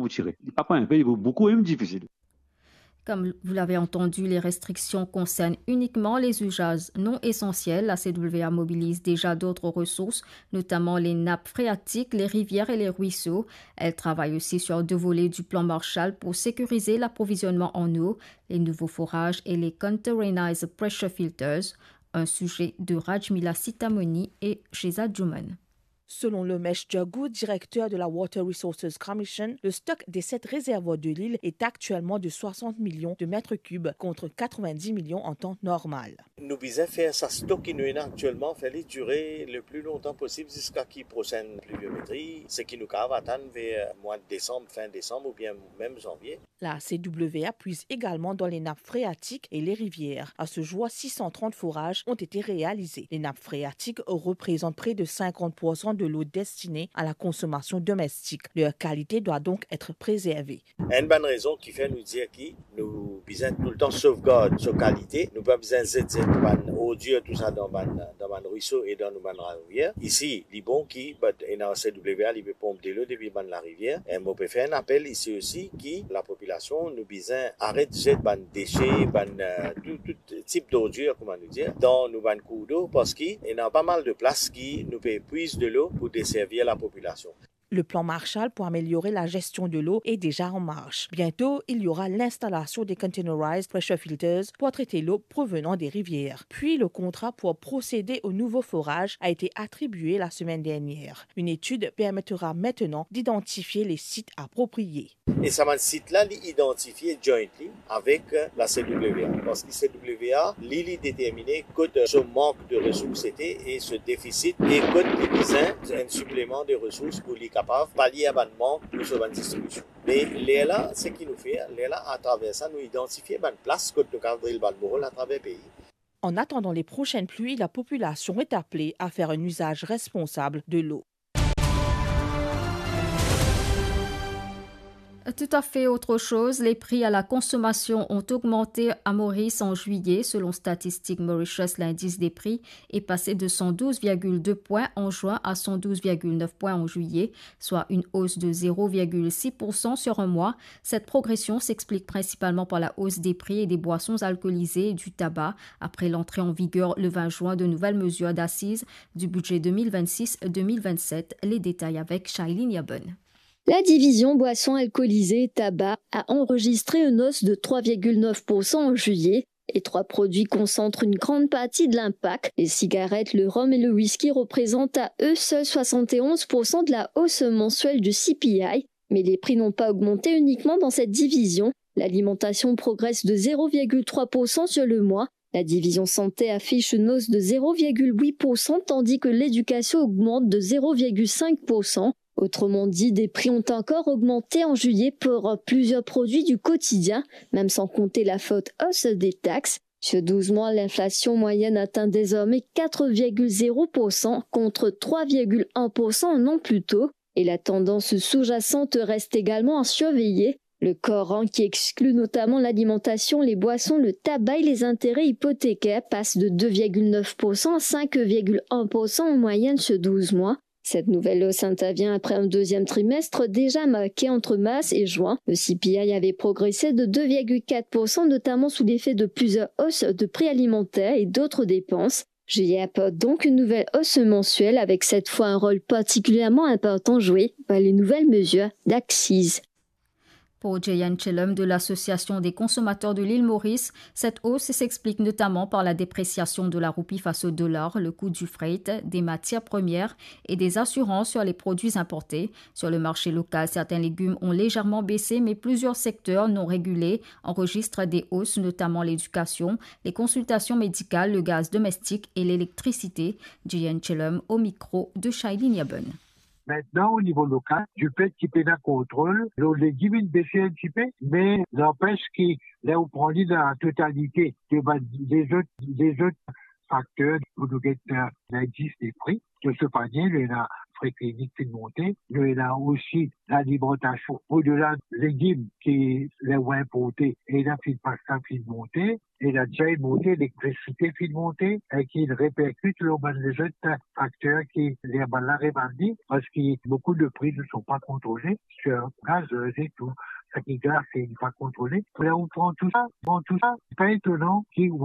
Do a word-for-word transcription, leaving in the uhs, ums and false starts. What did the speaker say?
pou tire. Li pa pran enpe, li pou boukou, mem difisil. Comme vous l'avez entendu, les restrictions concernent uniquement les usages non essentiels. La C W A mobilise déjà d'autres ressources, notamment les nappes phréatiques, les rivières et les ruisseaux. Elle travaille aussi sur deux volets du plan Marshall pour sécuriser l'approvisionnement en eau, les nouveaux forages et les containerized pressure filters. Un sujet de Rajmila Sitamoni et Sheza Juman. Selon Lomesh Jaggu, directeur de la Water Resources Commission, le stock des sept réservoirs de l'île est actuellement de soixante millions de mètres cubes contre quatre-vingt-dix millions en temps normal. Nou bizin fer sa stok ki nou ena aktielman, fer li dire le pli lontan posib ziska ki prosenn pliviometri, seki nou kapav atann ver mwa desam, fin desam oubien mem zanvie. La C W A puise également dans les nappes phréatiques et les rivières. À ce jour, six cent trente forages ont été réalisés. Les nappes phréatiques représentent près de cinquante pour cent de l'eau destinée à la consommation domestique. Leur qualité doit donc être préservée. Enn bann rezon ki fer nou dir ki nou bizin toultan sovgard so kalite, nou pa bizin zet zet bann ordir tousa dan bann dan bann rwiso e dan nou bann larivier. Isi, li bon ki, but ena C W A, li pe ponp delo depi bann larivier. E mo pe fer enn apel isi osi ki lapopilasion, nou bizin aret zet bann dese, bann euh, tou, tou tip dordir, kouma nou dir, dan nou bann kourdo, parski ena pa mal de plas ki nou pe pwiz delo pou deservi lapopilasion. Le plan Marshall pour améliorer la gestion de l'eau est déjà en marche. Bientôt, il y aura l'installation des containerized pressure filters pour traiter l'eau provenant des rivières. Puis, le contrat pour procéder au nouveau forage a été attribué la semaine dernière. Une étude permettra maintenant d'identifier les sites appropriés. E sa bann sit la, li idantifie jointly avek la C W A, parski C W A, li, li determine kot so mank de resours ete e so defisit e kot li bizin enn sipleman de resours pou li kapav palie a bann mank pou so bann distribision. Me lerla, seki nou fer, lerla atraver sa, nou idantifie bann plas kot nou kapav dril bann borol atraver pei. En attendant les prochaines pluies, la population est appelée à faire un usage responsable de l'eau. Tout à fait autre chose, les prix à la consommation ont augmenté à Maurice en juillet. Selon Statistique Mauritius, l'indice des prix est passé de cent douze virgule deux points en juin à cent douze virgule neuf points en juillet, soit une hausse de zéro virgule six pour cent sur un mois. Cette progression s'explique principalement par la hausse des prix des boissons alcoolisées et du tabac, après l'entrée en vigueur le vingt juin de nouvelles mesures d'assises du budget deux mille vingt-six deux mille vingt-sept. Les détails avec Shailene Yabon. La division boissons alcoolisées et tabac a enregistré une hausse de trois virgule neuf pour cent en juillet. Les trois produits concentrent une grande partie de l'impact. Les cigarettes, le rhum et le whisky représentent à eux seuls soixante et onze pour cent de la hausse mensuelle du C P I, mais les prix n'ont pas augmenté uniquement dans cette division. L'alimentation progresse de zéro virgule trois pour cent sur le mois. La division santé affiche une hausse de zéro virgule huit pour cent, tandis que l'éducation augmente de zéro virgule cinq pour cent. Autrement dit, des prix ont encore augmenté en juillet pour plusieurs produits du quotidien, même sans compter la forte hausse des taxes. Sur douze mois, l'inflation moyenne atteint désormais quatre virgule zéro pour cent contre trois virgule un pour cent un an plus tôt. Et la tendance sous-jacente reste également à surveiller. Le corps, hein, qui exclut notamment l'alimentation, les boissons, le tabac et les intérêts hypothécaires, passe de deux virgule neuf pour cent à cinq virgule un pour cent en moyenne sur douze mois. Cette nouvelle hausse intervient après un deuxième trimestre déjà marqué entre mars et juin. Le C P I avait progressé de deux virgule quatre pour cent, notamment sous l'effet de plusieurs hausses de prix alimentaires et d'autres dépenses. Juillet apporte donc une nouvelle hausse mensuelle, avec cette fois un rôle particulièrement important joué par les nouvelles mesures d'accise. Pour Jeyan Chelom de l'Association des consommateurs de l'île Maurice, cette hausse s'explique notamment par la dépréciation de la roupie face au dollar, le coût du fret, des matières premières et des assurances sur les produits importés. Sur le marché local, certains légumes ont légèrement baissé, mais plusieurs secteurs non régulés enregistrent des hausses, notamment l'éducation, les consultations médicales, le gaz domestique et l'électricité. Jeyan Chelom au micro de Shailene Yabon. Maintenant, au niveau local, du fait qu'il y a un contrôle, le légume est baissé un petit peu, mais n'empêche que là, on prend la totalité des, des autres, des autres facteurs pour nous guetter l'indice des prix. De ce panier, il y en a pre klinik finn monte. Nou ena osi lalimantasion, odela legim ki ler ou inporte, ena finn pasta finn monte, ena deza monte, elektrisite finn monte, e ki reperkit lor bann lezot fakter ki ler bann la revann li, parski boukou de pri ne sont pas contrôlés sur gazeuse et tout. Sa ki glas n'est pas contrôlé. Ler ou pran tou sa, pran tou sa, pa etonan ki ou